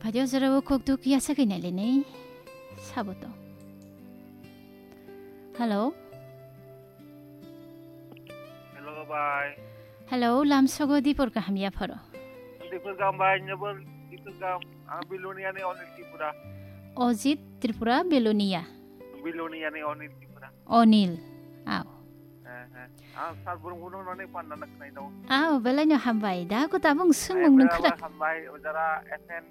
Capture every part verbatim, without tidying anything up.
Audio jora o kok duk ya sakai nai le nei. Sabo to. Hello. Hello, bye. Hello, lam sogo dipor kaham ya pharo. Dipor kaham, bye, nyebor dipor kaham. Ah, Bilonia ni Onil Tripura. Ojit Tripura, Bilonia. Bilonia ni Onil Tripura. Onil. Aw. Eh, eh. Ah, sal burung burung nani panda nak nai dong. Aw, belai no hambai. Da ko tabung sung mung nung khrak. Hambai, ojara F N.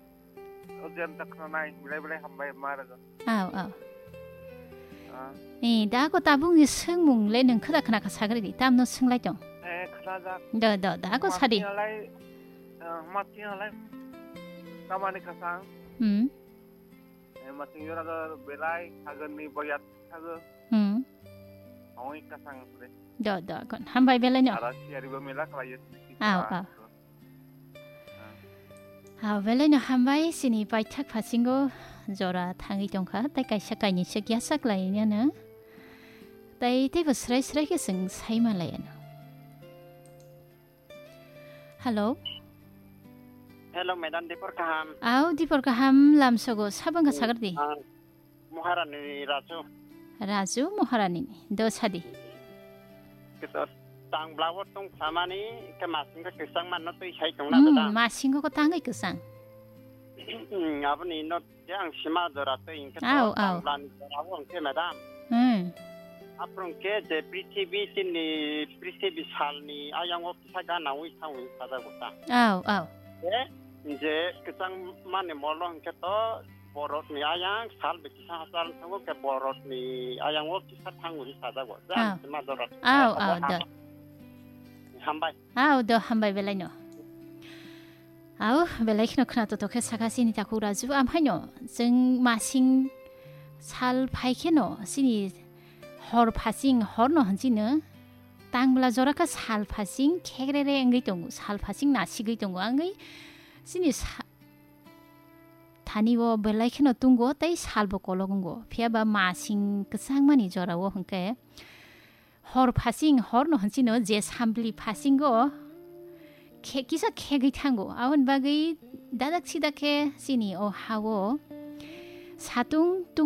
Ojen ta khwnanai, belai belai hambai ma rwgo. Aw, aw. Ah. Eh, da ko tabung ni swngmung le nwng khwda khwna kha sagri di, tamno swng lai tong. Eh, khwnajak. Do, do, da ko sadi. Mati halai, eh, mati halai. Tamani kasang. Hmm. Eh, mati yora do belai, hagan ni boyat hago. Hmm. Oi kasang sre. Do, do, kon. Hambai belai no. Ara siari bo mela kala yes. Aw, aw. Aw, belai no hambai, chini paithak phasingo jora thangwi tongkha, tei kaisa kainwi se kiyasak lai nano. Tei teibo srai srai khe chwng sai ma lai ano. Hello. Hello, madam, dipor kaham. Aw, dipor kaham, lam sogo, sabang kha sagar di. Ah, Maharani Raju. Raju Maharani ni do sadi. Kisa tang blawo tong samani ke masing ke kisang manno twi sai tong na. Hmm, da. Masing ko tangwi kisang. Hmm, aboni no je ang sima jora twi ke. Aw, aw. Tang blani jora bo ke madam. Hmm. Aprung ke je prithibi tini prithibi salni ayang o kisa gana wi thang wi saja gota. Aw, aw. Je, je kisang mani molo hingke to borokni ayang sal bai kisa hachal tongo, ke borokni ayang o kisa thangwi sajago. Jang Ah. sima dorot. Ah, ah, da. Hambai. Ah, do, hambai belai no. Au, belai kheno khna to tokhe saka sini takhuk Raju, amhaino chwng masing sal phai kheno sini hor phasing hor no hanchino tang bwla jora kha sal phasing khekrere wngwi tongo, sal phasing nasigwi tongo, wngwi sini sa-, Thani o belai kheno tungo tei salbo kolok wngo. Phiya ba masing kwchangmani jorao hwnkhe hor phasing, hor no hwnchino je sambli phasingo khe-, kisa khegwi thango. Aboni bagwi dadak sidak khe chini o ha-o satung